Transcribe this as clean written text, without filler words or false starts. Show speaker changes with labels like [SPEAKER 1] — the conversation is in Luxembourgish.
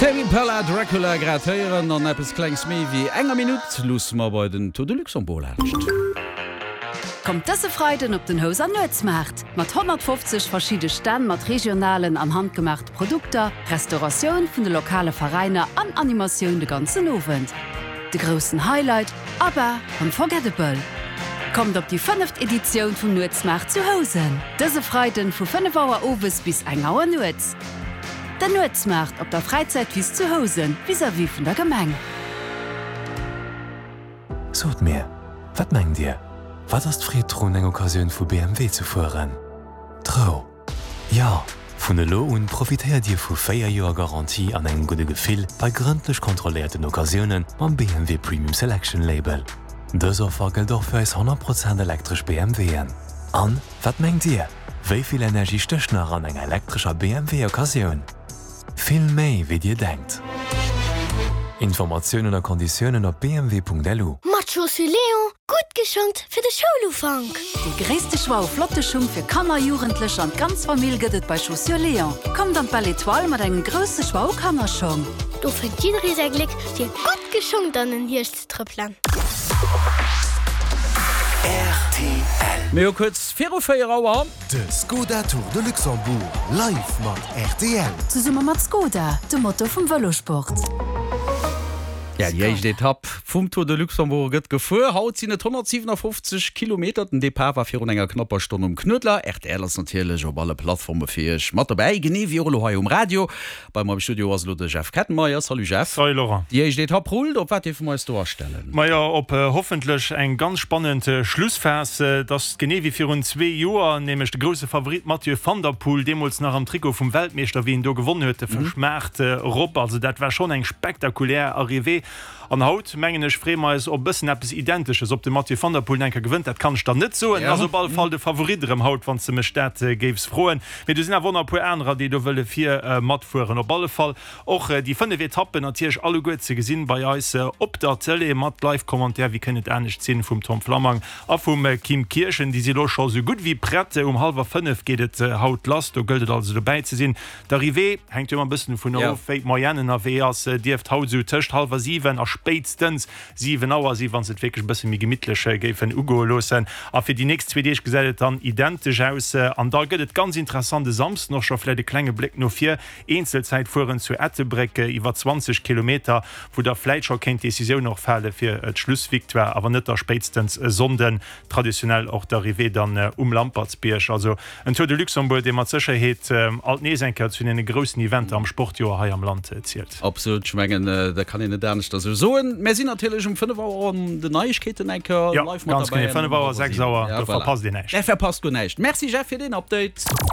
[SPEAKER 1] Tame Impala, Dracula grad héieren. An eppes klengs méi wéi enger Minutt luusse mer bei den Tour de Luxembourg laanscht.
[SPEAKER 2] Kommt dëse Freiden op den Houser Nuetsmaart! Mat 150 verschidde Stänn mat regionalen an handgemaachte Produkter, Restauratioun vun de lokale Veräiner an Animatioun de ganzen Owend. De groussen Highlight, ABBA, Unforgettable! Kommt op déi fënneft Editioun vum Nuetsmaart zu Housen! Dëse Freiden vu 5 Auer owes bis eng Auer nuets. Den Nuetsmaart op der Fräizäitwiss zu Housen, vis-à-vis vun der Gemeng.
[SPEAKER 3] Sot mir, wat mengt Dir, wat ass d'Freed drun, eng Occasioun vu BMW ze fueren? D'Rou! Jo, vun elo un profitéiert Dir vu 4 Joer Garantie an engem gudde Gefill bei grëndlech kontrolléierten Occasiounen mam BMW Premium Selection Label. Dës Offer gëllt och fir eis 100 Prozent elektresch BMWen. An, wat mengt Dir, wéi vill Energie stécht nach an enger elektrescher BMW Occasioun? Vill méi wéi Dir denkt! Informatiounen a Konditiounen op bmw.lu.
[SPEAKER 4] Mat Chaussures Léon Gutt geschongt fir de Schoulufank!
[SPEAKER 2] Dee gréisste Choix u flotte Schung fir Kanner, Jugendlecher an d'ganz Famill gëtt et bei Chaussures Léon. Kommt an d'Belle Etoile mat engem grousse Choix u Kannerschong.
[SPEAKER 4] Do fënnt jidderee säi Gléck fir gutt geschongt an den Hierscht ze trëppelen.
[SPEAKER 1] Rtl. Mir hu kuerz viru 4 Auer.
[SPEAKER 5] De Skoda Tour de Luxembourg live mat rtl.
[SPEAKER 2] Zesumme mat Skoda, de Motor vum Vëlosport.
[SPEAKER 1] Ja, déi éischt Etapp vum Tour de Luxembourg gëtt gefuer. Haut sinn et 157 Kilometer. Den Depart war virun enger knapper Stonn um Knuedler. Rtl ass natierlech op alle Plattforme fir iech mat dobäi, genee wéi och elo hei um Radio. Bei mer am Studio ass elo de Jeff Kettenmeyer. Salut Jeff.
[SPEAKER 6] Salut Laurent.
[SPEAKER 1] Déi éischt Etapp rullt. Op wat dierfe mer eis do astellen?
[SPEAKER 6] Majo, op hoffentlech eng ganz spannend Schlussphas. Et ass genee wéi virun zwee Joer, nämlech de grousse Favorit Mathieu van der Poel, deemools nach am Trikot vum Weltmeeschter, wéi en do gewonnen huet, de Fëschmaart erop. Also dat war schonn eng spektakulär Arrivée. An haut, mengen ech, freeë mer eis op e bëssen eppes Identesches. Ob de Mathieu van der Poel enker gewënnt, dat kann ech der net soen. En ass op alle Fall de Favorit erëm haut, wann s de mech dat géifs froen. Mee do sinn awer och nach e puer anerer, déi do wëlle vir matfueren. Op alle Fall och déi 5 Etappen natierlech alleguer ze gesinn bei eis op der Tëlee mat Live-Commentaire, wéi kënnt et anescht sinn, vum Tom Flammang A vum Kim Kirchen, déi si lo scho sou gutt wéi prett. Um hallwer 5 geet et haut lass, do gëllt et also dobäi ze sinn. D'Arrivée hänkt jo ëmmer e bëssen dovun of, wéi d'Moyenne ënnerwee ass, dierft haut sou tëscht hallwer 7 a spéitstens 7 Auer sinn, wa se et wierklech e bësse méi gemittlech géifen ugoe loossen. A fir déi nächst zwee Deeg gesäit et dann identesch aus. An da gëtt et ganz interessant e Samsden och scho, vläicht e klenge Bléck no vir, Eenzelzäitfueren zu Ettelbréck iwwer 20 Kilometer, wou da vläit scho kéint d'Decisioun och fale fir d'Schlussvictoire, a wann net da spéitstens e Sonnden, traditionell och d'Arrivée dann um Lampertsbierg. Also en Tour de Luxembourg, dee mat Sécherheet alt nees eng Kéier zu deene groussen Eventer am Sportjoer hei am Land zielt.
[SPEAKER 1] Absolut, ech mengen dat kann een net aneschter esou soen. Mär sinn natierlech um 5 Auer an den Neiegkeeten eng Kéier
[SPEAKER 6] live mat
[SPEAKER 1] derbäi.
[SPEAKER 6] Jo, ganz genee, 5 Auer, 6 Auer, do verpasst een näischt.
[SPEAKER 1] Där verpasst guer näischt. Merci Jeff fir deen Update.